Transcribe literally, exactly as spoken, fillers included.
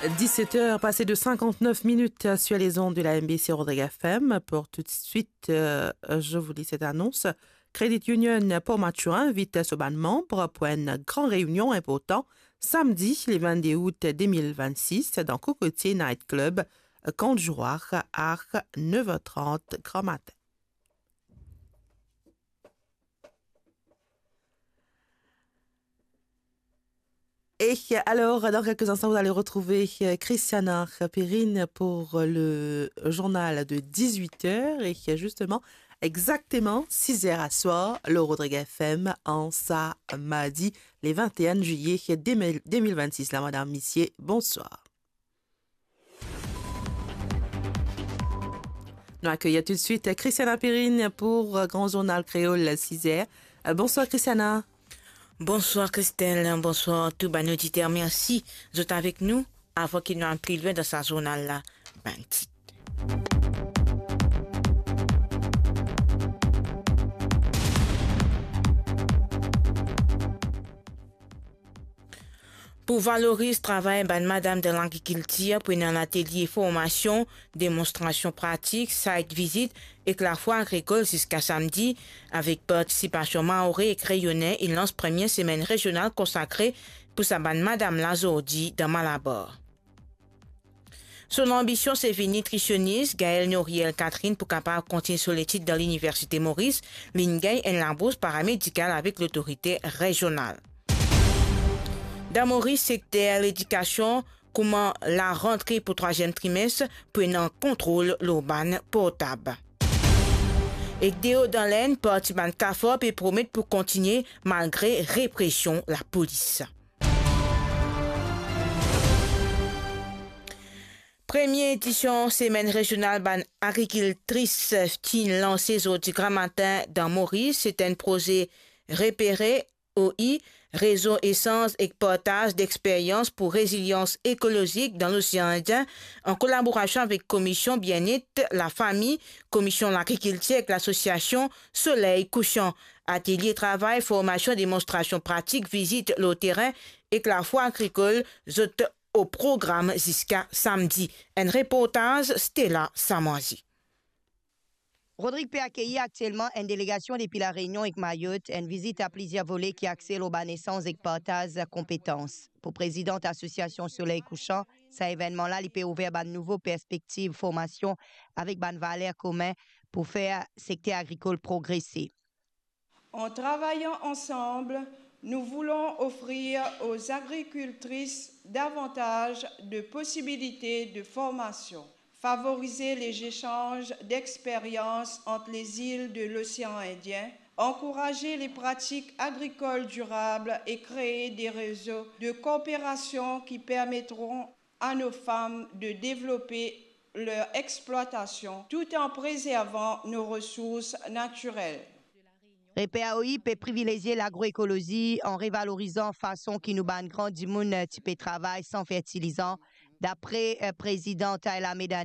Dix-sept heures passées de cinquante-neuf minutes sur les ondes de la M B C Rodrigues F M. Pour tout de suite, euh, je vous lis cette annonce. Credit Union Port Mathurin invit so bann manm pou enn gran reynion inportan samedi le vingt-deux août deux mille vingt-six dan Cocotier Night Club, Camp du Roi, à neuf heures trente grand matin. Et alors, dans quelques instants, vous allez retrouver, euh, Christiana Pirine pour le journal de dix-huit heures. Et justement, exactement six heures à soir, le Rodrigues F M en sa mardi, le vingt et un juillet deux mille, deux mille vingt-six. Là, madame, messieurs, bonsoir. Nou akeyir toudsuit Christiana Pirine pou, euh, Gran Zournal Kreol, six heures. Euh, bonsoir, Christiana. Bonsoir, Christelle. Bonsoir, tou bann oditer. Mersi zot avek nou. Avan ki nou al pli lwin dan sa zournal la, bann tit. Pou valoriz travay bann madam dan lagrikiltir, pou ena latelie formasion, demonstrasion pratik, site visit ek lafwa agrikol ziska samdi, avek partisipasion Maore ek Reyone, e lans premie semenn rezional konsakre pou sa bann madam la zordi dan Malabar. So lanbision se vinn nitrisionis. Gaëlle Noriel Catherine pou kapav kontign so letit dan Liniversite Moris, li'nn gagn enn labours paramedikal avek lotorite rezional. Dan Moris, sekter ledikasion, kouma larantre pou trwaziem trimes pou ena kontrol lor bann portab. Ek deor dan Lenn, parti bann kafor pe promet pou kontigne malgre represion lapolis. Premie edision Semenn Rezional bann Agrikiltris finn lanse zordi gramatin dan Moris. Se enn proze Repere O I, Rezo Esanz ek Partaz Dexperyans pou Rezilians Ekolozik dan Losean Indien, an kolaborasion avek Komision Bienet Lafami, Komision Lagrikiltir ek lasosiasion Soley Kousan. Atelie travay, formasion, demonstrasion pratik, vizit lor terin ek lafwa agrikol, zot o program ziska samdi. Enn reportaz Stella Samwazi. Rodrig pe akeyir aktielman enn delegasion depi La Reynion ek Mayot, enn vizit a plizier vole ki axe lor bann esanz ek partaz konpetans. Pou prezidan Asosiasion Soley Kousan, sa evennman la, li pe ouver bann nouvo perspektiv formasion avek bann valer komin pou fer sekter agrikol progrese. En travaillant ensemble, nous voulons offrir aux agricultrices davantage de possibilités de formation, favoriser les échanges d'expériences entre les îles de l'océan Indien, encourager les pratiques agricoles durables et créer des réseaux de coopération qui permettront à nos femmes de développer leur exploitation tout en préservant nos ressources naturelles. Reper O I pe privilezie lagroekolozi an revalorizan fason ki nou bann gran dimoun ti pe travay san fertilizan, dapre, eh, prezidan Tayla Medani.